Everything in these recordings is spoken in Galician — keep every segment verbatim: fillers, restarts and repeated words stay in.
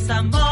Samboy.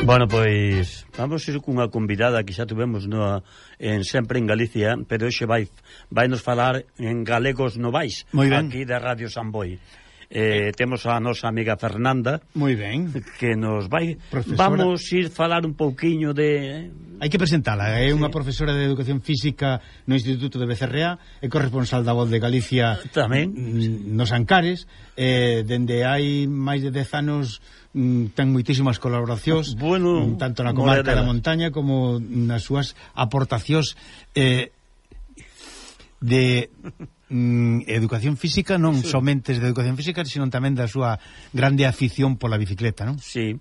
Bueno, pois vamos ir cunha convidada que xa tuvemos no, en sempre en Galicia, pero hoxe vai vai nos falar en Galegos Novais, aquí de Radio Samboy. Eh, temos a nosa amiga Fernanda. Moi ben. Que nos vai... Profesora. Vamos ir falar un pouquiño de... Hai que presentala, é unha sí. profesora de Educación Física no Instituto de Becerrea, é corresponsal da Voz de Galicia tamén nos Ancares, eh, dende hai máis de dez anos ten moitísimas colaboracións, bueno, tanto na comarca da montaña como nas súas aportacións eh, de mm, educación física, non sí. somente de educación física, sino tamén da súa grande afición pola bicicleta, non? Sí.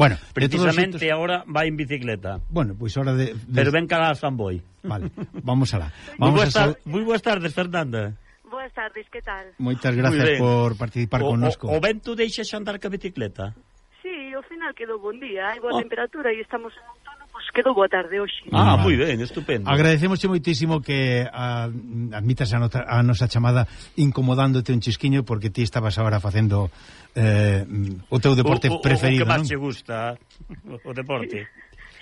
Bueno, precisamente sitios... ahora vai en bicicleta. Bueno, pois pues hora de, de... Pero ven cara a Samboy. Vale, vamos alá. Moi Vamos boas, tar... Muy boas tardes, Fernanda. Boas tardes, que tal? Moitas grazas por participar o, connosco. O, o vento deixa xa andar ca bicicleta? Sí, ao final quedou bon día, hai boa oh. temperatura e estamos en outono, pois quedou boa tarde hoxe. Ah, moi ben, estupendo. Agradecemosche moitísimo que a, admitas a, nota, a nosa chamada incomodándote un chisquiño, porque ti estabas agora facendo eh, o teu deporte o, o, preferido, o que máis non? che gusta, o deporte.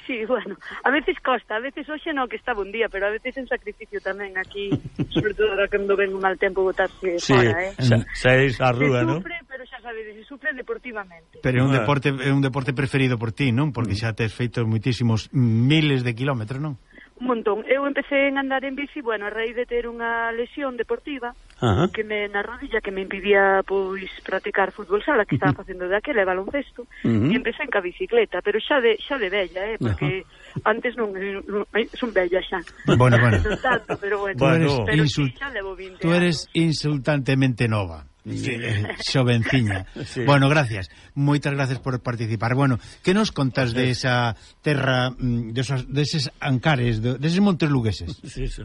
Sí, bueno, a veces costa, a veces hoxe non que está bon día, pero a veces en sacrificio tamén aquí, sobre todo ahora cando ven un mal tempo botarse sí, fora, eh? Saís a rúa, non? Se sufre, pero xa sabedes, se sufre deportivamente. Pero é un deporte é un deporte preferido por ti, non? Porque xa tes feito moitísimos miles de kilómetros, non? Un montón. Eu empecé en andar en bici, bueno, a raíz de ter unha lesión deportiva, uh -huh. que me na rodilla que me impidía pois practicar fútbol sala, que estaba facendo de aquela e baloncesto, uh -huh. e empecé en ca bicicleta, pero xa de xa de bella, eh, porque uh -huh. antes non, non son bella xa. Bueno, bueno. Non tanto, pero bueno, bueno pero insult... sí, xa levo vinte Tú eres anos. insultantemente nova. Sí. Xovenciña. Sí. Bueno, gracias. Moitas gracias por participar. Bueno, que nos contas de esa terra, de esos, de eses Ancares, de, de eses montes lugueses? Sí, sí.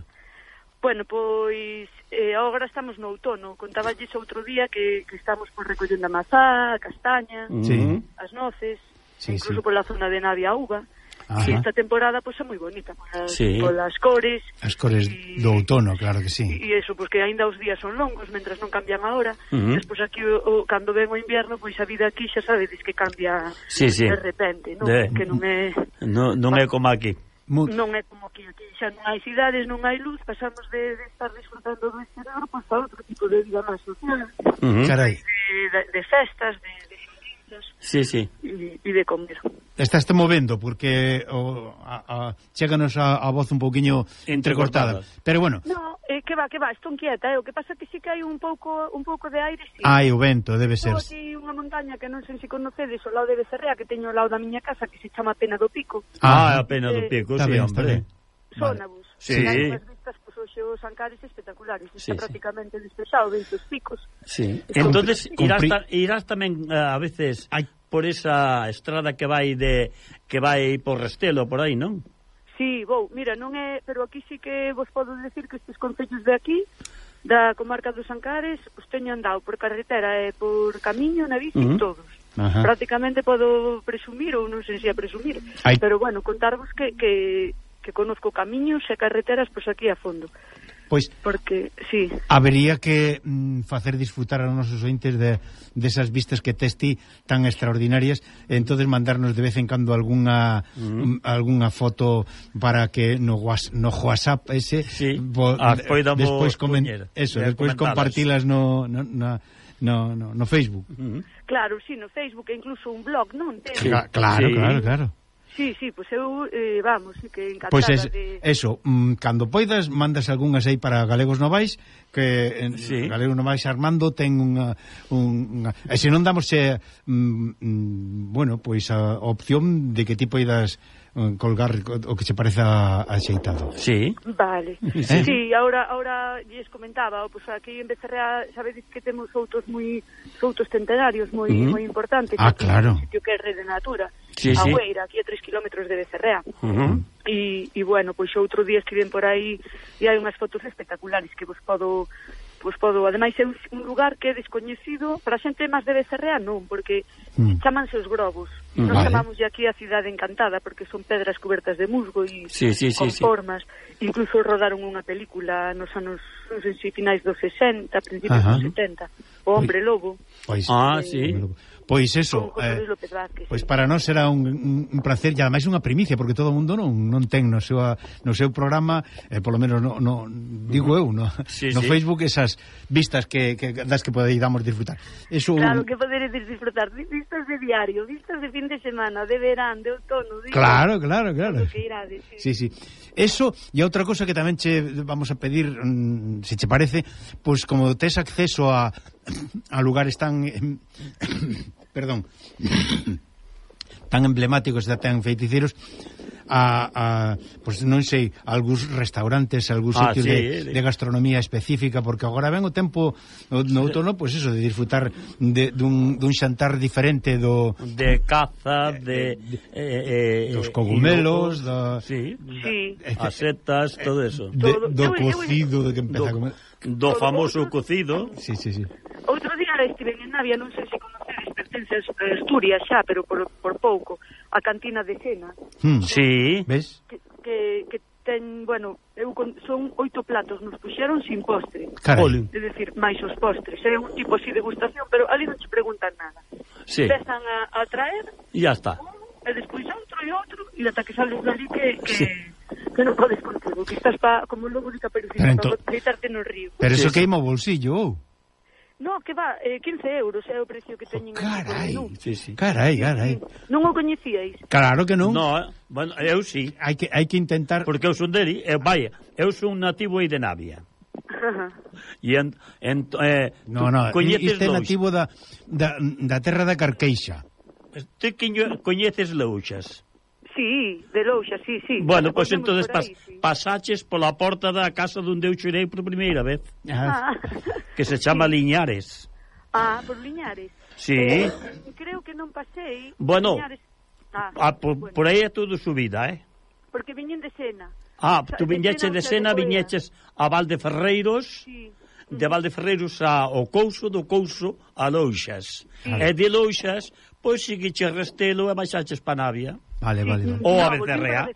Bueno, pois eh, agora estamos no outono. Contaballes outro día que, que estamos por recollendo a mazá, a castaña, sí. as noces, sí, incluso sí. pola zona de Navia a uva. E esta temporada pois é moi bonita polas, sí. polas cores. As cores y, do outono, claro que sí. E iso, pois que aínda os días son longos, mentras non cambian a hora. Uh-huh. Despois aquí, o, o, cando ven o inverno, pois a vida aquí xa sabedes que cambia sí, sí. de repente, non? De... Que non é... No, non é como aquí. Non é como aquí, aquí xa non hai cidades, non hai luz, pasamos de, de estar disfrutando do exterior pois a outro tipo de vida máis social, uh-huh. Carai. De, de, de festas, de, de fiestas, sí, sí. e, e de comer. Estás te movendo porque o, a, a, chéganos a, a voz un pouquiño entrecortada, pero bueno. No, eh, que va, que va, estou inquieta, eh? O que pasa que sí que hai un pouco un pouco de aire, sí. Hai o vento, debe ser. Estou aquí unha montaña que non sei se conocedes, ao lado de Becerrea, que teño ao lado da miña casa, que se chama Pena do Pico. Ah, a Pena do Pico, eh, sí, bien, hombre. Sónabus. Sí. Hai unhas vistas, pois, hoxe os Ancares espectaculares, está sí, prácticamente sí. despexado, ven os picos. Sí. Entonces, irás, ta, irás tamén uh, a veces Ay. por esa estrada que vai de que vai por Restelo, por aí, non? Sí, vou, mira, non é, pero aquí sí que vos podo decir que estes concellos de aquí, da comarca dos Ancares, os teño andado por carretera e por camiño na bici, uh-huh. todos. Ajá. Prácticamente podo presumir, ou non sei se a presumir, Ay. pero bueno, contarvos que, que, que conozco camiños e carreteras pois aquí a fondo. Pois, porque, sí. Habería que mm, facer disfrutar a nosos ointes de desas de vistas que tes ti tan extraordinarias, entonces mandarnos de vez en cando algunha mm. algunha foto para que no, no WhatsApp ese sí. bo, ah, de, despois comen, eso, despois compartilas no, no, no, no, no, no Facebook. Mm. Claro, sí, no Facebook e incluso un blog, non? Sí. Claro, sí. claro, claro. Sí, sí, pois pues eu, eh, vamos, sí que encantada pois pues es, de... eso, mm, cando poidas, mandas algunhas aí para Galegos Novais, que en sí. Galegos Novais Armando ten unha... unha e se non damos, eh, mm, mm, bueno, pois pues a opción de que ti poidas colgar o que se pareza axeitado. Sí. Vale. ¿Eh? Sí, ahora ahora lles comentaba, pois pues aquí en Becerrea sabedes que temos outros moi outros centenarios moi uh-huh. moi importantes. Ah, claro. Un sitio que é Rede Natura. Sí, a sí. Hueira, aquí a tres kilómetros de Becerrea. Uh-huh. E, e bueno, pois outro día estiven por aí e hai unhas fotos espectaculares que vos podo pois podo, ademais é un, un lugar que é descoñecido para a xente máis de Becerrea non, porque mm. chamanse os Grobos. Mm, Nos vale. chamamos aquí a Cidade Encantada porque son pedras cubertas de musgo e sí, sí, con sí, formas. Sí. Incluso rodaron unha película nos anos, non sei se finais dos sesenta, principios Ajá. dos setenta, O Hombre Lobo. Pois, ah, eh, sí. Pois eso, eh, pois para nós será un, un, un placer e ademais unha primicia, porque todo o mundo non non ten no seu no seu programa, eh, polo menos no, no digo eu, no, sí, no sí. Facebook esas vistas que, que das que poderíamos disfrutar. Eso Claro, que poderedes disfrutar vistas de diario, vistas de fin de semana, de verán, de outono, de Claro, claro, claro. Que irades, Sí, sí. sí. Eso e outra cosa que tamén che vamos a pedir, mm, se che parece, pois como tes acceso a a lugares tan perdón, tan emblemáticos e tan feiticeiros, a, a pois non sei, algúns restaurantes, algúns ah, sitios sí, de, de gastronomía específica, porque agora ven o tempo no, no outono, pois eso, de disfrutar de, dun, dun xantar diferente do de caza, de, de eh, eh, dos cogumelos, do, da, sí, sí. as setas, todo eso. De, do cocido, de que empeza do, a comer. Do famoso cocido. Sí, sí, sí. Outro día estiven en Navia, non sei se conocedes, pertence a Asturias xa, pero por, por pouco, a cantina de Sena. Hmm. Sí. Ves? Que, que, que ten, bueno, eu con, son oito platos, nos puxeron sin postre. Carai. É dicir, máis os postres. É un tipo así de degustación, pero ali non te preguntan nada. Sí. Empezan a, a traer, e ya está. E despois outro e outro, e ata que sales dali que... que sí. que non podes contigo, que estás pa, como lobo de Caperucita, ento... para deitarte no río. Pero eso sí, queima o bolsillo, ou? No, que va, eh, quince euros é o precio que teñen. Oh, carai, sí, sí. carai, carai. Non o coñecíais? Claro que non. No, bueno, eu sí. Hai que hai que intentar. Porque eu son deli, eu, vaya, eu son nativo aí de Navia. E en, en eh, no, no, coñeces este nativo da, da, da terra da Carqueixa. Ti coñeces Louxas? Sí, de Louxa, sí, sí. Bueno, pois pues entonces pas, sí. pasaches pola porta da casa onde eu chorei por primeira vez. Ah. Que se chama sí. Liñares. Ah, por Liñares. Sí. Eh, creo que non pasei. Bueno, Liñares. Ah, ah, por, bueno, por aí é todo subida, eh? Porque viñen de Sena. Ah, tú viñeches de Sena, viñeches a Valdeferreiros, sí. de Valdeferreiros ao Couso, do Couso a Louxas. Ah. E de Louxas, pois seguiches Restelo e baixaches pa Navia. Vale, vale, vale. Ou a Becerrea.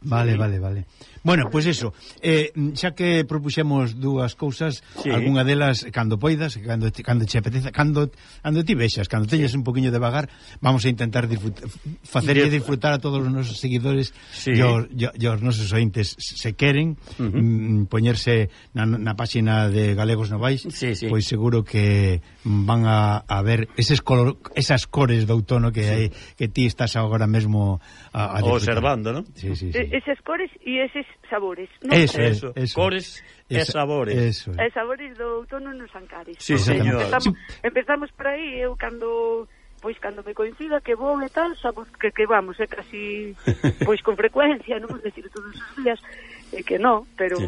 Vale, vale, vale. Bueno, pois pues eso, eh, xa que propuxemos dúas cousas, sí. algunha delas cando poidas, cando cando che apeteza, cando cando ti vexas, cando teñes un poquinho de vagar, vamos a intentar disfrutar, facerlle disfrutar a todos os nosos seguidores sí. e os, os nosos ointes se queren uh -huh. mm, poñerse na, na páxina de Galegos Novais, sí, sí. pois seguro que van a, a ver eses color, esas cores de outono que sí. hai, que ti estás agora mesmo a, a observando, ¿no? Sí, sí, sí. Eses cores e eses sabores, ¿no? Eso, eso, eso. Cores e sabores. Eso. E sabores do outono nos Ancares. Sí, señor. Empezamos, empezamos por aí, eu cando pois cando me coincida que vou e tal, sabes que, que vamos, é casi pois con frecuencia, non vou decir todos os días, é que non, pero sí.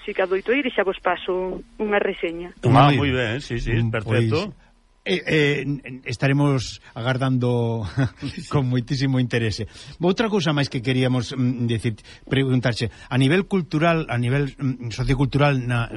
si que adoito ir e xa vos paso unha reseña. Ah, moi ben, sí, sí, perfecto. Pois... Eh, eh, estaremos agardando con moitísimo interese. Outra cousa máis que queríamos mm, decir, preguntarche, a nivel cultural, a nivel mm, sociocultural na,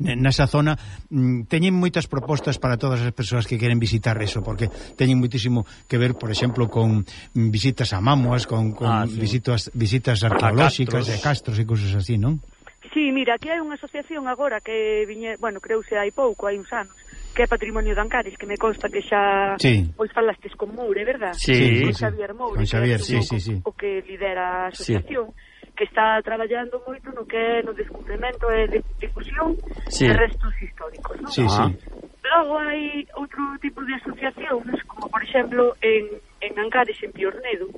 nesa zona, mm, teñen moitas propostas para todas as persoas que queren visitar eso, porque teñen moitísimo que ver, por exemplo, con visitas a mamuas, con, con ah, sí. visitas, visitas arqueolóxicas e castros e cousas así, non? Sí, mira, aquí hai unha asociación agora que viñe, bueno, creuse hai pouco, hai uns anos, que é Patrimonio de Ancares, que me consta que xa sí. pois falastes con Moure, verdad? Sí, con sí. Xavier Moure, con Xavier, sí, sí, sí. o que lidera a asociación, sí. que está traballando moito no que é no descubrimento e de difusión sí. de restos históricos, non? Sí, sí. Logo hai outro tipo de asociacións, como por exemplo en, en Ancares, en Piornedo,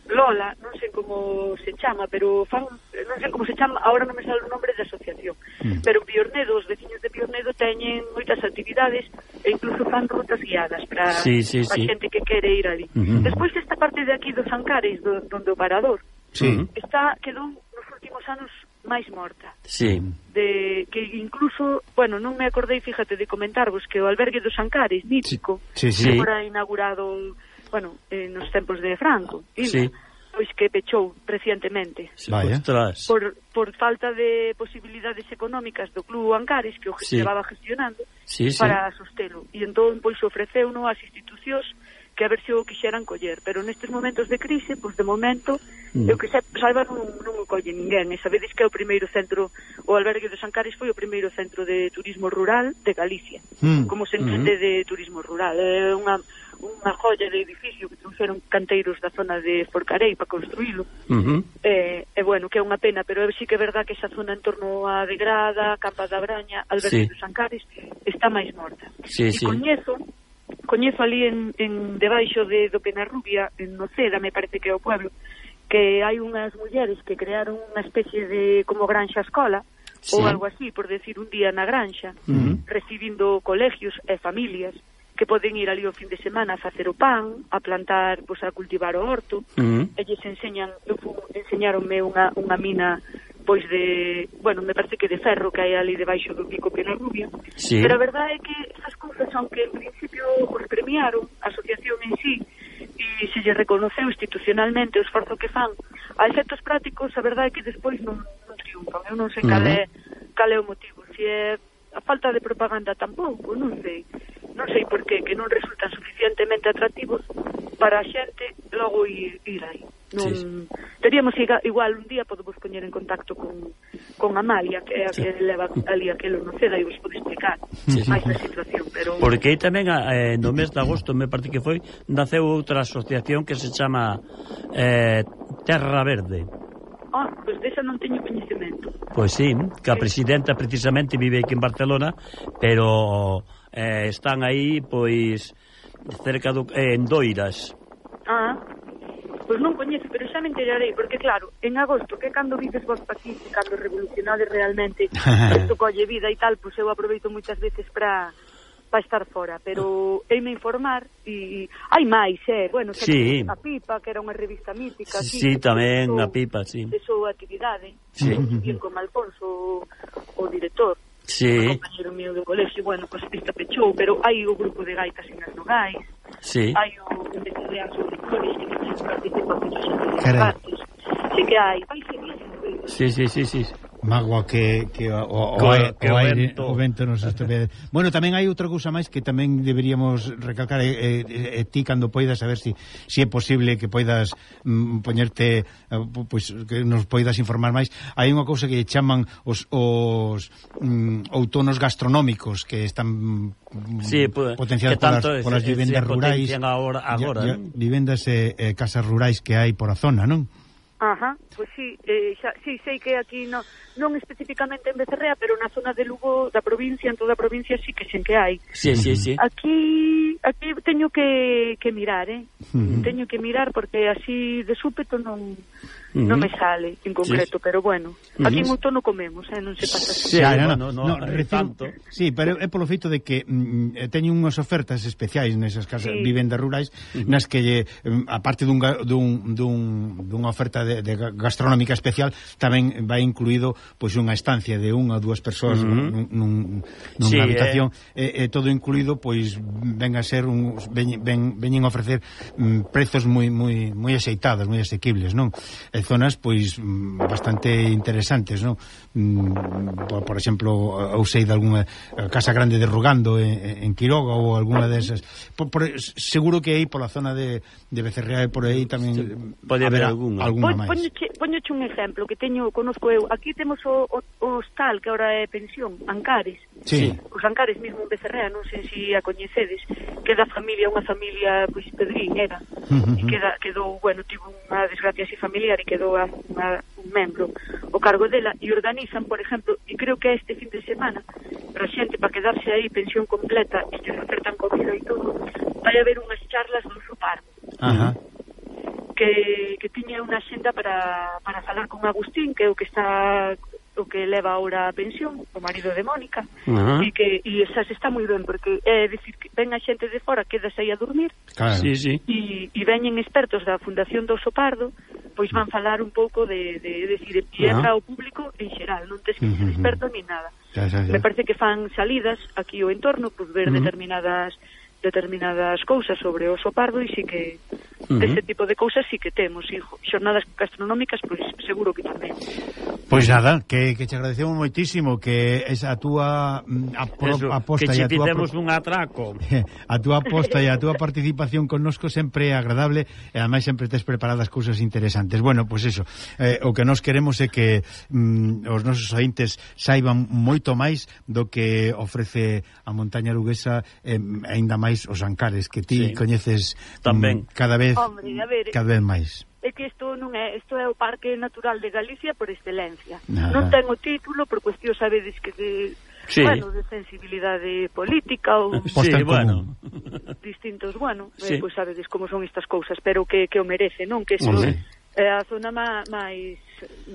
Lola, non sei como se chama, pero fan, non sei como se chama, agora non me sale o nombre da asociación, mm. pero Piornedo, os veciños de Piornedo teñen moitas actividades e incluso fan rutas guiadas para sí, sí, a sí. xente que quere ir ali. Uh -huh. Despois esta parte de aquí dos Ancares, do, donde o Parador, sí. está, quedou nos últimos anos máis morta. Sí. De que incluso, bueno, non me acordei, fíjate, de comentarvos que o albergue dos Ancares, mítico, sí, sí, sí. que fora inaugurado, bueno, eh, nos tempos de Franco, sí. pois que pechou recientemente. Vaya. Por, por falta de posibilidades económicas do Club Ancares, que o que sí. levaba gestionando, sí, sí. para sostelo. E entón, pois, ofreceu-no ás institucións que a ver se o quixeran coller, pero nestes momentos de crise, pois de momento, mm. eu que se, salva non, non o colle ninguén, e sabedes que é o primeiro centro, o albergue dos Ancares foi o primeiro centro de turismo rural de Galicia, mm. como se entende mm. de turismo rural, é unha, unha joya de edificio que trouxeron canteiros da zona de Forcarei para construílo, mm -hmm. e, e bueno, que é unha pena, pero sí que é verdad que esa zona en torno a Degrada, Campa da Braña, albergue sí. dos Ancares, está máis morta. Sí, e sí. coñezo coñezo ali en, en debaixo de do Penarrubia, en Noceda, me parece que é o pueblo, que hai unhas mulleres que crearon unha especie de como granxa escola, sí. ou algo así, por decir un día na granxa, uh -huh. recibindo colegios e familias que poden ir ali o fin de semana a facer o pan, a plantar, pois a cultivar o horto, uh -huh. e lles enseñan, enseñaronme unha, unha mina pois de, bueno, me parece que de ferro que hai ali debaixo do pico Penarrubia, sí. pero a verdade é que esas cousas, aunque en principio os premiaron, a asociación en sí, e se lle reconoceu institucionalmente o esforzo que fan, a efectos prácticos, a verdade é que despois non, non triunfan. Eu non sei cal é, cal é o motivo, se é a falta de propaganda tampouco, non sei, non sei por qué, que non resultan suficientemente atractivos para a xente logo ir, ir aí. Non, sí, sí. Teríamos igual un día podemos poñer en contacto con, con Amalia, que é a sí. que leva ali aquelo no Ceda, e vos pode explicar sí, máis sí. a situación, pero... Porque aí tamén eh, no mes de agosto, me parece que foi, naceu outra asociación que se chama eh, Terra Verde. Ah, pois pues desa non teño coñecemento. Pois pues sí, que a presidenta precisamente vive aquí en Barcelona, pero eh, están aí, pois, cerca do, eh, en Doiras. Ah, pois non coñezo, pero xa me enterarei, porque claro, en agosto, que cando vives vos pa aquí, cando revolucionades realmente isto colle vida e tal, pois eu aproveito moitas veces para para estar fora, pero heime informar e hai máis, eh, bueno, sí. a Pipa, que era unha revista mítica, sí, sí, tamén a Pipa, sí. De súa actividade, sí. bien como Alfonso, o, o director, sí. o compañero mío do colexio, bueno, pois esta pechou, pero hai o grupo de gaitas en as Nogais, sí. hai o investigador sobre flores que non se participa con os partes, sí que hai, vai seguir, Sí, sí, sí, sí. Mágoa que, que o, o, o, que o, o aire, vento, o vento nos estropee. Bueno, tamén hai outra cousa máis que tamén deberíamos recalcar, e, e, e ti cando poidas, a ver si, si é posible que poidas mm, poñerte, pois, que nos poidas informar máis. Hai unha cousa que chaman os, os mm, outonos gastronómicos que están sí, pues, potenciados polas, polas vivendas rurais, agora, agora, ya, ya, vivendas e eh, casas rurais que hai por a zona, non? Ajá, pois sí, eh, xa, sí, sei que aquí no, non especificamente en Becerrea, pero na zona de Lugo da provincia, en toda a provincia sí que sen que hai. Sí, sí, sí. Aquí aquí teño que, que mirar, eh? Uh-huh. Teño que mirar porque así de súpeto non Uh-huh. non me sale en concreto, sí. Pero bueno, aquí uh-huh. en outono comemos, eh? Non se pasa así. Sí, claro, bueno, no, no, no, no, no tanto. Sí, pero é polo feito de que mm, teñen unhas ofertas especiais nesas casas, sí. Vivendas rurais, uh-huh. nas que lle, aparte dun, dun, dun, dunha oferta de, de gastronómica especial, tamén vai incluído pois unha estancia de unha ou dúas persoas uh-huh. nun, nun, nunha sí, habitación, eh. e, e todo incluído, pois ven a ser un, ven, ven, veñen a ofrecer mm, prezos moi moi moi axeitados, moi asequibles, non? E zonas pois bastante interesantes, non? Por, por exemplo, ou sei de algunha casa grande de Rugando en, en Quiroga ou algunha desas. Por, por, seguro que aí pola zona de, de Becerrea e por aí tamén sí, pode haber algunha. Alguna máis. Poñoche un exemplo que teño, conozco eu. Aquí temos o, o, o hostal que ahora é pensión, Ancares. Sí. Os Ancares mesmo en Becerrea, non sei se a coñecedes, que da familia, unha familia pois Pedrín era. Uh-huh. E queda, quedou, bueno, tivo unha desgracia así familiar e quedou a, a, un membro o cargo dela e organizan, por exemplo, e creo que este fin de semana para xente, para quedarse aí pensión completa e que ofertan comida e todo, vai haber unhas charlas do Oso Pardo. Ajá. Que, que tiña unha xenda para, para falar con Agustín, que é o que está o que leva ahora a pensión, o marido de Mónica, uh-huh. e que e esa está moi ben, porque é dicir que ven a xente de fora, quedas aí a dormir, claro. Sí, sí. E, e veñen expertos da Fundación do Oso Pardo, pois van falar un pouco de, de, de decir, e entra uh-huh. o público en xeral, non tes que ser uh-huh. experto ni nada. Ya, ya, ya. Me parece que fan salidas aquí o entorno, pois ver uh-huh. determinadas determinadas cousas sobre o Oso Pardo e si que uh-huh. ese tipo de cousas sí que temos, e xornadas gastronómicas pois seguro que tamén. Pois nada, que, que te agradecemos moitísimo que esa a túa apro, aposta e a túa fizemos un atraco. A túa aposta e a túa participación connosco sempre é agradable e ademais sempre tes preparadas cousas interesantes. Bueno, pois eso, eh, o que nós queremos é que mm, os nosos ointes saiban moito máis do que ofrece a montaña luguesa, eh, aínda máis os Ancares, que ti sí. coñeces tamén mm, cada vez Hombre, a ver, cada vez máis. É que isto non é, isto é o Parque Natural de Galicia por excelencia. Nada. Non ten o título por cuestión, sabedes que de, sí. bueno, de sensibilidade política ou sí, bueno, distintos, bueno, sí. eh, pois pues sabedes como son estas cousas, pero que, que o merece, non? Que isto sí. é a zona má, máis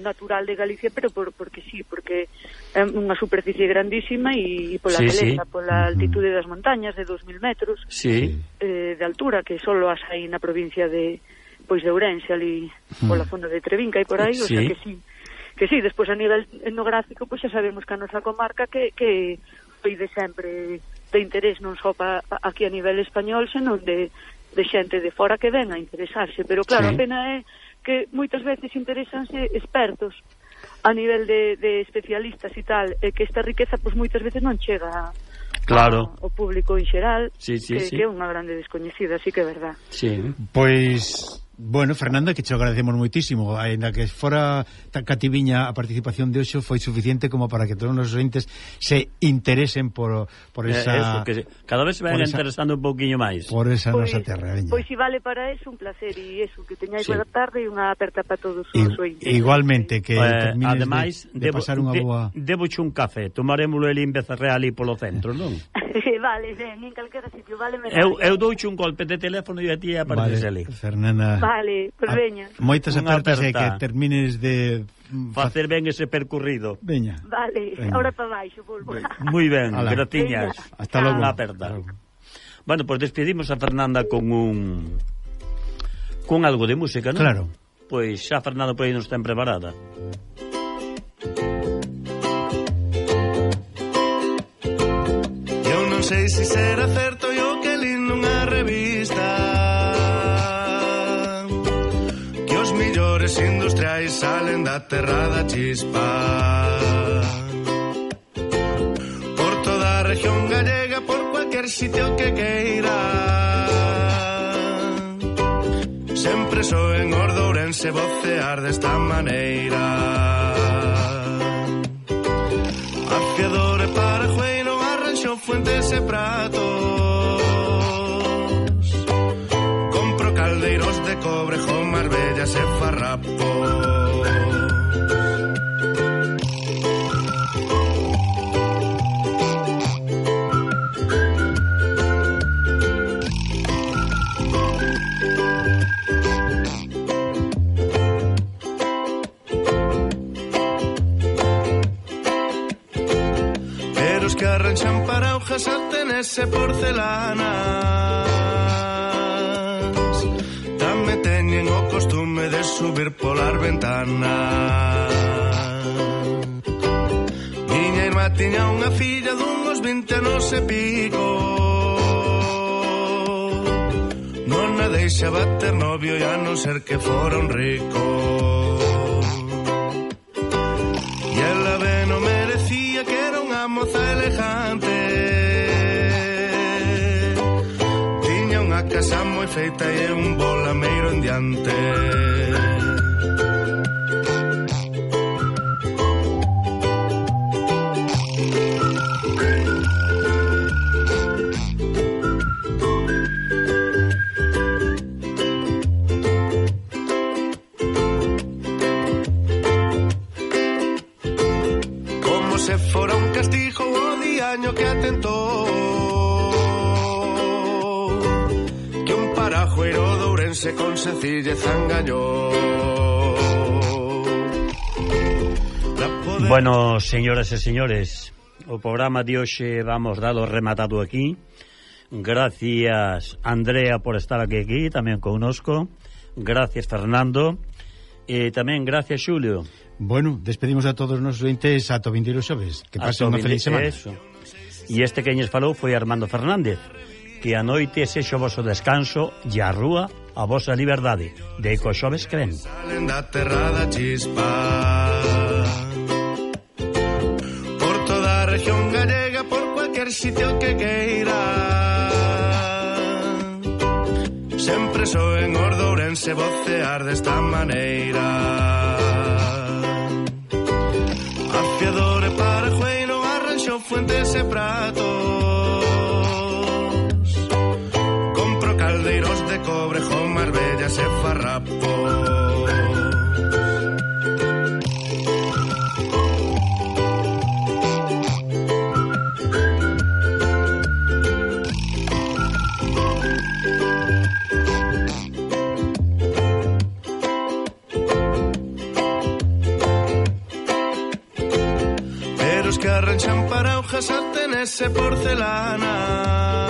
natural de Galicia, pero por, porque sí, porque é unha superficie grandísima e, e pola sí, beleza, sí. pola altitude das montañas de dos mil metros sí. eh, de altura, que solo as hai na provincia de pois de Ourense, ali mm. pola zona de Trevinca e por aí, sí. o sea que sí, que sí, despois a nivel etnográfico, pois xa sabemos que a nosa comarca que, que foi de sempre de interés non só pa, aquí a nivel español, senón de, de xente de fora que ven a interesarse, pero claro, sí. a pena é que moitas veces interesanse expertos a nivel de, de especialistas e tal, e que esta riqueza pois moitas veces non chega claro. ao público en xeral, sí, sí, que, sí. que é unha grande descoñecida, así que é verdad. Sí. Pois bueno, Fernanda, que te agradecemos moitísimo, ainda que fora tan cativiña a participación de hoxe, foi suficiente como para que todos os ointes se interesen por, por esa... Eh, eso, que cada vez se van interesando un pouquiño máis. Por esa pois, nosa terra, veña. Pois si vale para eso, un placer, e eso, que teñáis sí. boa tarde e unha aperta para todos os I, ointes. Igualmente, que eh, termines ademais, de, de debo, pasar unha boa... De, deboche un café, tomarémoslo el en Becerrea ali polo centro, non? Vale, ben, en calquera sitio, vale. Eu, eu douche un golpe de teléfono e a ti apareces vale, ali. Fernanda. Vale, pues veña. Moitas apertas e que termines de... Facer ben ese percorrido. Veña. Vale, veña. Ahora para baixo, volvo. Moi ben, gratiñas. Hasta logo. Unha aperta. Bueno, pues despedimos a Fernanda con un... con algo de música, non? Claro. Pois xa Fernanda por aí non está preparada. Eu non sei se será certo yo que li nunha revista que os millores industriais salen da terra da chispa. Por toda a región gallega, por cualquier sitio que queira, sempre soen os de Ourense vocear desta maneira. Afiador e Parajueiro, Arranxo, Fuentes e Pratos, compro caldeiros de cobre, Marbellas e farrapos. Pero os que arranxan paraujas, artenes e porcelanas tamén teñen o costume de subir polas ventanas. Miña irmá tiña unha filla dunhos vinte anos e pico, non a deixaba ter novio e a non ser que fora un rico. E ela ben o merecía, que era unha moza elegante, tiña unha casa moi feita e un bolameiro en diante. Como se fora un castigo o diaño que atentou, que un parajueiro de Ourense con sencillez engañou. Bueno, señoras e señores, o programa de hoxe vamos dalo rematado aquí. Gracias, Andrea, por estar aquí, aquí tamén connosco. Gracias, Fernando. E tamén gracias, Xulio. Bueno, despedimos a todos os nosos ointes ata o vindeiro xoves. Que pasen unha feliz semana. Eso. E este que ñes falou foi Armando Fernández. Que a noite sexo o voso descanso e a rúa a vosa liberdade. De co xoves que ven. Salen da terra da chispa. Por toda a región gallega, por cualquier sitio que queira, sempre soen os de Ourense vocear desta maneira. Afiador e Parajueiro, Arranxo, Fuentes e Pratos, compro caldeiros de cobre, Marbellas e farrapos. Que arranchan paraujas, sartenes e porcelanas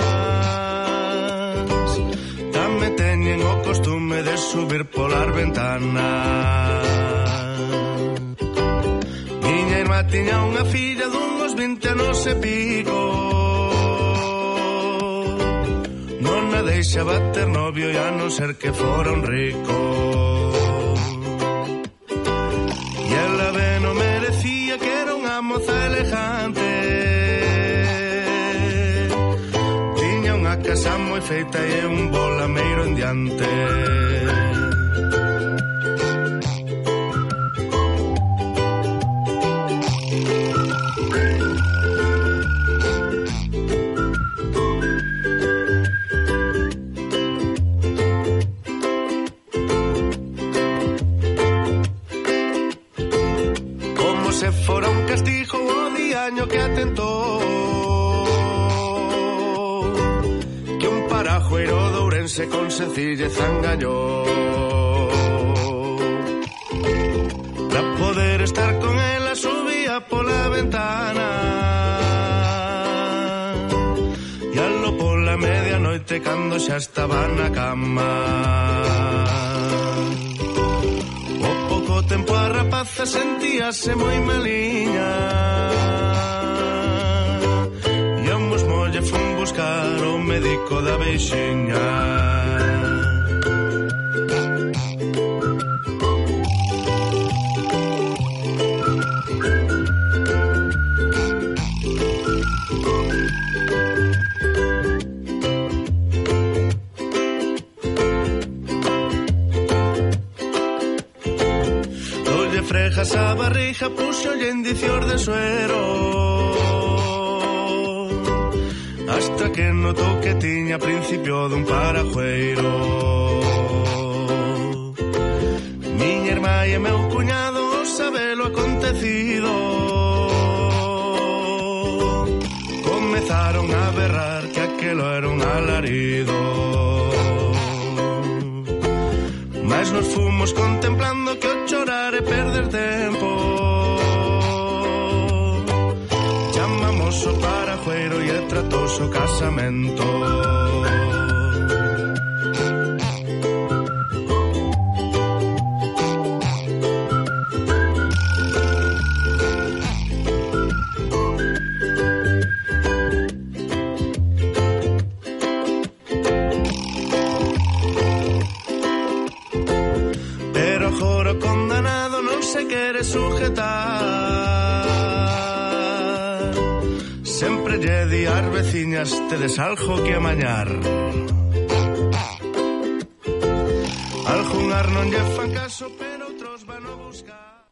tamén teñen o costume de subir polas ventanas. Miña irmá tiña unha filla dunhos vinte anos e pico, non a deixaba ter novio e a non ser que fora un rico. E ela ben o merecía, que era unha moza elegante, tiña unha casa moi feita e un bolameiro en diante. Como se fora un castigo o diaño que atentou, que un parajueiro de Ourense con sencillez engañou. Pra poder estar con ela subía pola ventana e alo pola medianoite cando xa estaba na cama. O pouco tempo a rapaza sentíase moi maliña e ambos molle fun buscar o médico da veixiña. hija puxolle indicios de suero, hasta que notou que tiña principio dun parajueiro. Miña irmá e meu cuñado sabelo acontecido, comezaron a berrar que aquelo era un alarido. Mas nos fomos contemplando que o chorar é perder tempo. Chamamos o parajueiro e tratouse o casamento. Sempre lle di ás veciñas tedes algo que amañar. Algunhar non lle fan caso, pero outros van a buscar.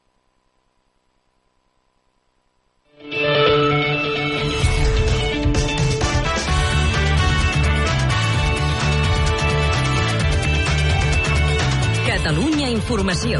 Catalunya Informació.